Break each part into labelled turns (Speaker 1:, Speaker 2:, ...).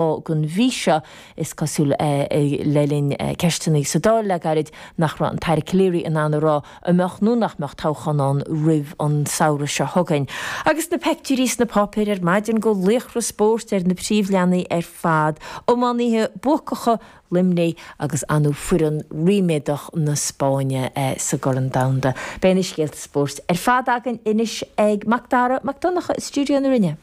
Speaker 1: Den mhí seo. Is cosúil, le linn ceisteanna sa Dáil le gairid, nach raibh an tAire Calleary in ann a rá an mbeadh nó nach mbeadh toghchán ann roimh an samhradh seo chugainn. Agus na peictiúirí sna páipéir ar maidin go laochra spóirt ar na príomhleathanaigh ar fad, iománaithe buacacha Luimnigh agus ar ndóigh foireann ríméadach na Spáinne sa gCorn Domhanda. Beidh na scéalta spóirt ar fad againn anois ag Macdara Mac Donncha i stiúideo na Rinne.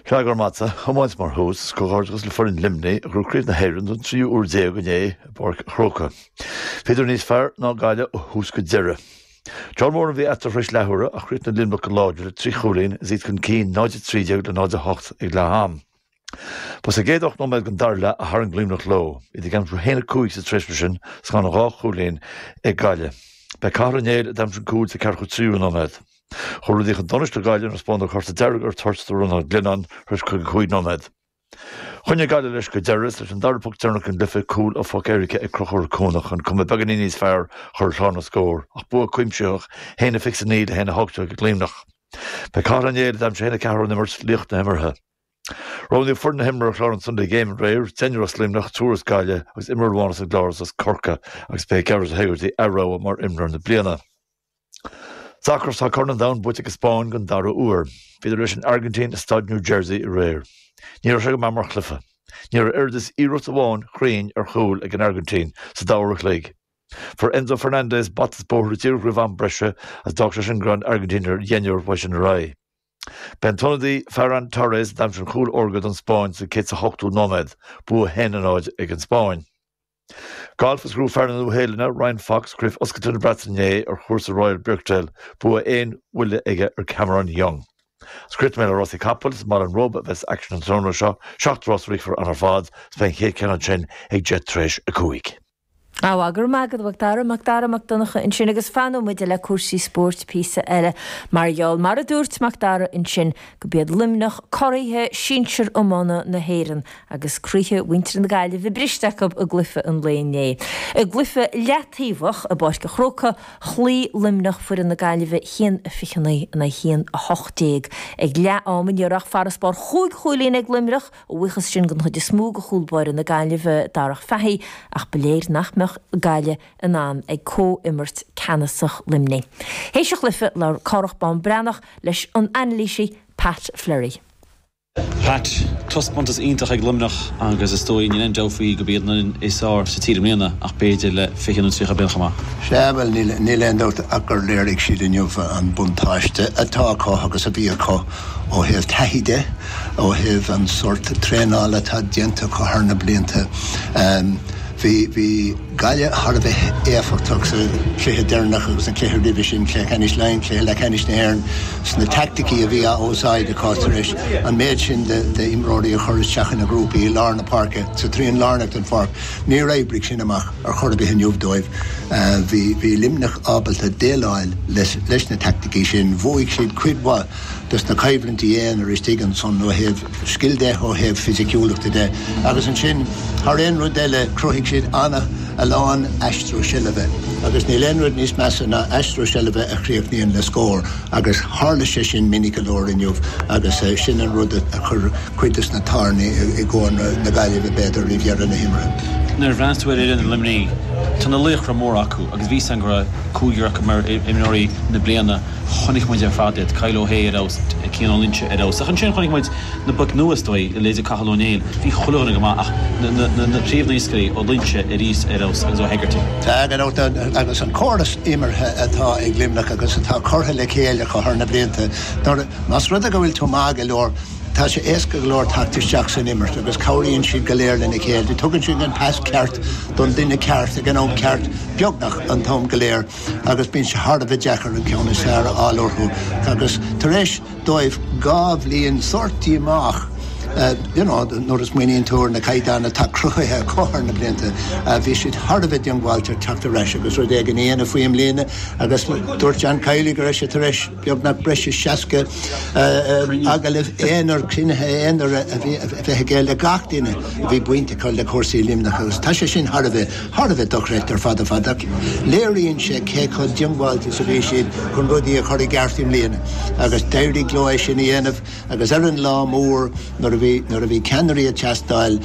Speaker 2: Sea, go raibh maith agat. Iomáint mar thús, is comhghairdeachas le foireann Luimnigh a ghnóthaigh Craobh na hÉireann don tríú uair déag inné i bPáirc an Chrócaigh. Bhíodar níos fearr ná Gaillimh ó thús go deireadh. Ceol mór a bhí eatarthu tar éis leathuaire ach chríochnaigh Luimneach go láidir le 3 chúilín is iad chun cinn 0-13 le 0-8 ag leath am. Ba sa gcéad 8 nóiméad den dara leath a tharraing Luimneach leo, iad ag aimsiú 1-5 sa tréimhse sin is gan ach dhá chúilín ag Gaillimh. B'é Cathal Ó Néill a d'aimsigh an cúl sa 43ú nóiméad. Chuaigh rudaí chun donais do Ghaillimh nuair a spáineadh cárta dearg ar toirt do Rónán Glennon tar éis 55 nóiméad. Choinnigh Gaillimh leis go deireadh is leis an dara poc deireanach den gcluiche, cúl ó phoc éirice ag Conchúr Ó Cuanach chun cuma beagáinín níos fearr a chur ar chlár na scór, ach bua cuimsitheach 1-29 le 1-18 ag Luimneach. B'é Cathal Ó Néill a d'aimsigh 1-4 ón imirt, laoch na himeartha. Roghnaíodh foireann na himeartha ar chlár an Sunday Game aréir, deichniúr as Luimneach, triúr as Gaillimh agus imreoir amháin as an gClár agus as Corcaigh agus b'é Gearóid Hegarty a rogha mar imreoir na bliana. Sacar, Tá Corn an Domhain buaite ag an Spáinn den dara huair. Bhíodar leis an Airgintín i Staid New Jersey aréir. Ní raibh sé go maith mar chluiche. Ní raibh oiread is iarracht amháin chruinn ar chúl ag an Airgintín sa dá uair a chloig. Fuair Enzo Fernandez bata is bóthar díreach roimh am breise agus d'fhág sé sin go raibh an Airgintín ar dheichniúr uaidh sin ar aghaidh. B'é an t-ionadaí Ferran Torres a d'aimsigh an chúl órga don Spáinn sa 108ú nóiméad. Bua 1-0 ag an Spáinn. Galf is ghnóthaigh fear na Nua-Shéalainne, Ryan Fox, Craobh Oscailte na Breataine inné ar chúrsa Royal Birkdale, bua aon bhuille aige ar Cameron Young. Is críochnóidh mé le rásaí capall, is i mBaile an Róba a bheas aicsean an tráthnóna seo, 7 rás a rithfear ann ar fad, is beidh an chéad cheann ansin ag 10 tar éis 5.
Speaker 1: Á, go raibh maith agat, a Mhac Dara, Macdara Mac Donncha ansin agus fanóidh muid le cúrsaí spóirt píosa eile mar gheall, mar a dúirt Macdara ansin, go b'iad Luimneach curaithe sinsir iomána na hÉireann agus croíthe mhuintir na Gaillimhe briste acu i gcluiche an lae inné. I gcluiche leataobhach i bPáirc an Chrócaigh, chloígh Luimneach foireann na Gaillimhe 1-29 in aghaidh 1-18. Ag leath ama ní raibh ach farasbarr chúig chúilín ag Luimneach, a bhuíochas sin den chuid is mó do chúl báire na Gaillimhe, Darragh Fahy, ach ba léir nach mbeadh Gaillimh in ann ag comhimirt ceannasach Luimnigh. Théis an chluiche, labhair Cárthach Bán Breathnach leis an anailísí Pat Fleury.
Speaker 3: Pat, taispeántas iontach ag Luimneach agus is dóigh níl aon dabht faoi gurb iad an fhoireann is fearr sa tír i mbliana ach b'fhéidir le 20 nó 30 bliain chomh maith.
Speaker 4: Sea, bhuel, níl aon dabht ach gur léirigh siad inniu an buntáiste atá acu agus a bhí acu ó thaobh taithí de, ó thaobh an sórt traenála atá déanta acu thar na blianta. Bhí, bhí. Gaillimh thar a bheith éifeachtach sa chluiche deireanach agus an cluiche roimhe sin, cluiche ceannais Laighean, cluiche leathcheannais na hÉireann, sna teaicticí a bhí á úsáid acu tar éis an méid sin d'imreoirí a chur isteach ina ngrúpaí i lár na páirce, sa trian lárnach den pháirc. Níor oibrigh sin amach ar chor ar bith inniu dóibh. Bhí Luimneach ábalta déileáil leis na teaicticí sin. Bhuaigh siad cuid mhaith dos na coimhlintí aonair istigh ansan ó thaobh scil de, ó thaobh fisiciúlachta de agus ansin thar aon rud eile chruthaigh siad ana a lán aistriú seilbhe agus níl aon rud níos measa ná aistriú seilbhe a chríochnaíonn le scór agus tharla sé sin minic go leor inniu agus sin an rud a chuir cuid dos na tairní i gcónra na Gaillimhe b'fhéidir roimh dheireadh na himeartha.
Speaker 3: Nuair a bhreathnaíos tú ar fhoireann Luimnigh, tá na laochra móra acu agus bhí a fhios againn go raibh cúigear acu mar imreoirí na bliana. Chonaic muid ar fad iad, Kyle O'Hea ar fheabhas, Cian Ó Loinsigh ar fheabhas. Ach ansin chonaic muid na boic nua is dóigh, leithéidí Cathal Ó Néill. Bhí chuile dhuine go maith ach na príomhnaoscairí, Ó Loinsigh arís ar fheabhas agus Ó Hegarty.
Speaker 4: Tá, gan dabht, agus an córas imeartha atá ag Luimneach agus atá curtha le chéile acu thar na blianta, nuair, más rud é go bhfuil tú maith go leor, tá sé éasca go leor teacht isteach san imirt agus cabhraíonn siad go léir lena chéile. Tugann siad an pas ceart don duine ceart ag an am ceart beagnach an t-am go léir. agus bíonn sé thar a bheith deacair an ceann is fearr a fháil orthu agus tar éis dóibh 2 bhliain sórt díomách you know nuair a smaoiníonn tú ar na caighdeáin atá cruthaithe acu thar na blianta, bhí siad thar a bheith diongbháilte teacht ar ais agus rud éigin a dhéanamh faoi i mbliana agus dúirt John Kiely go raibh sé tar éis beagnach breis is 60 agallamh aonair, cruinnithe aonair a bheith aige le gach duine a bhí baint acu le cúrsaí Luimneach agus tá sé sin thar a bheith Thar a bheith dochreidte ar fad ar fad ach léiríonn sé cé chomh diongbháilte is a bhí siad chun rudaí a chur i gceart i mbliana agus d'éirigh leo é sin a dhéanamh agus ar an lá mór nuair a bhí. bhí, nuair a bhí ceannairí ag teastáil.